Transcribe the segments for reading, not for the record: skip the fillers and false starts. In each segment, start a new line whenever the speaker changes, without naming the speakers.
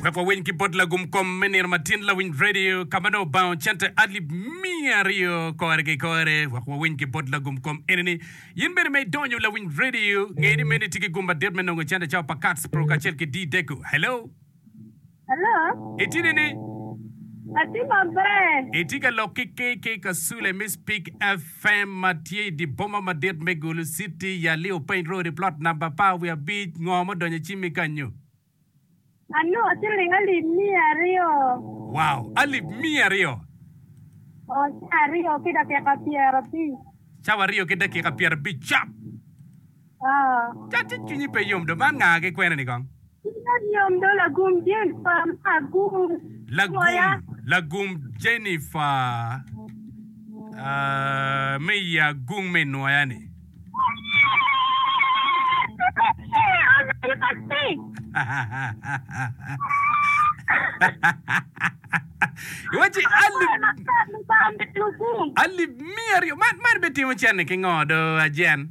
Wek wawiny ki bot lagum kom me nino matin lawiny radio ka ma nongo obango cente alip 200 kore ki kore. Wek wawiny ki bot lagum kom enini. In bene ma idonyo lawiny radio, nge ni meno itye ki gum madit me nongo cente cawa pa Kats Pro kacel ki D-Deco. Hello.
Hello.
Itye nini?
Atye maber.
Itye ka lok ki KK Kasule me Speak FM ma tye i dye boma madit me Gulu City, Yali Openy Road i plot namba 15. Ngo ma odonyo i cimmi kanyo?
Anongo ciling alip 200.
Wow! Alip 200?
Oo, cawa aryo ki dakika 50.
Cawa aryo ki dakika 50 cap!
Oo.
Ca ci cwinyi pe yom do, man nga ki kwene ni kong?
Cwinya yom do lagum Jennifer ma agum
Lagum, lagum Jennifer uh, me i agung me nwoya ni. Iwacci alip 200 man man bitimo cene ki ngo do ajen?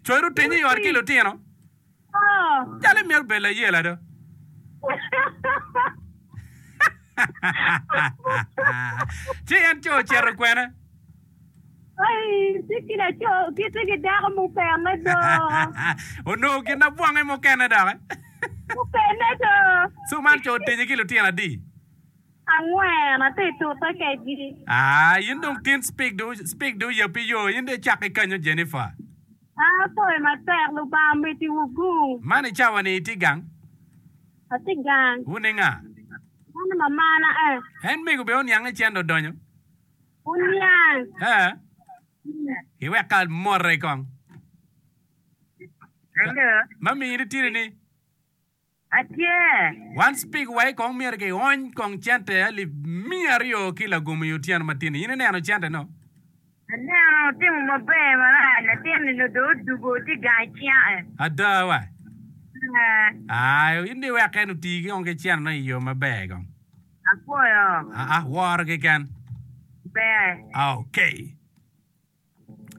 Cwero otenye i ot ki lutino. Calo imito bedo layela do. Ci en co ocito kwene? Onongo gin abwange mukene doki. Co man co otenye ki lutino adi?
Angwen, atye tute kedgi.
Aa, in dong tin speak do speak do yabbi yo, in dong icak ki kanyo Jennifer.
An apoyo matek, Lubanga omeddi wu gum.
Man i cawa ni itye gang?
Atye gang.
Wun i nga?
An mamana eh.
En mego bene oniang i cente odonyo?
Oniang.
Eh. Iwek ka mote kong.
Hello.
Mami in itye ni?
Atye.
Wan speak wai kong myero ki ony kong cente alip 200 ki lagum i otyeno matin ni. In ineno cente no?
Aneno otimo maber marac latin ni dong odugo tye gang icinga.
Ada wa.
Ee.
Aa, in dong iwek en oti kong ki cente no i yo maber kong.
Apwoyo.
Aa, woro keken.
Ber.
Okay.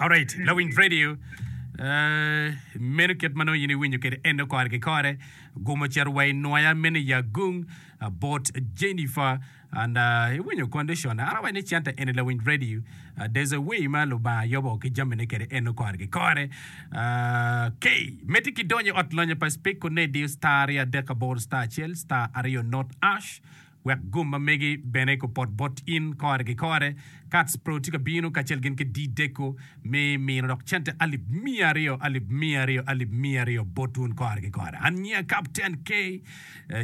Alright, lawiny radio. Uh, meno kit ma nongo in iwinyo kwede eno kore ki kore. Gum ocito wa i nwoya meno i Agung uh, bot Jennifer and uh, iwinyo condition. An awaco ni cente eni lawiny radio. Uh, there's a way ma Lubanga yobo ki jamine kwede eno kore ki kore. Uh, okay, meti ki donyo i ot lonyo pa Speak Kunedi star 238 star 1 star 2 not ash. Wek gum ma megi bene gupot bot in kore ki kore. Kats Pro tye ka bino kacel gin ki D-Deco me mino dok cente alip 200, alip 200, alip 200 bot wun kore ki kore. An nyinga Captain K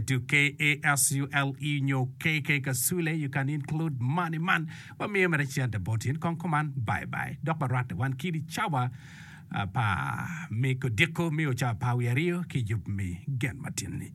to K-A-S-U-L-E nyo KK Kasule, you can include money man. Wamiyo mere cente bot in. Kong kuman, bye bye. Dok warwatte wan kidi cawa apar me kodiko me o cawa apar wiye aryo ki yub me gen matin-ni.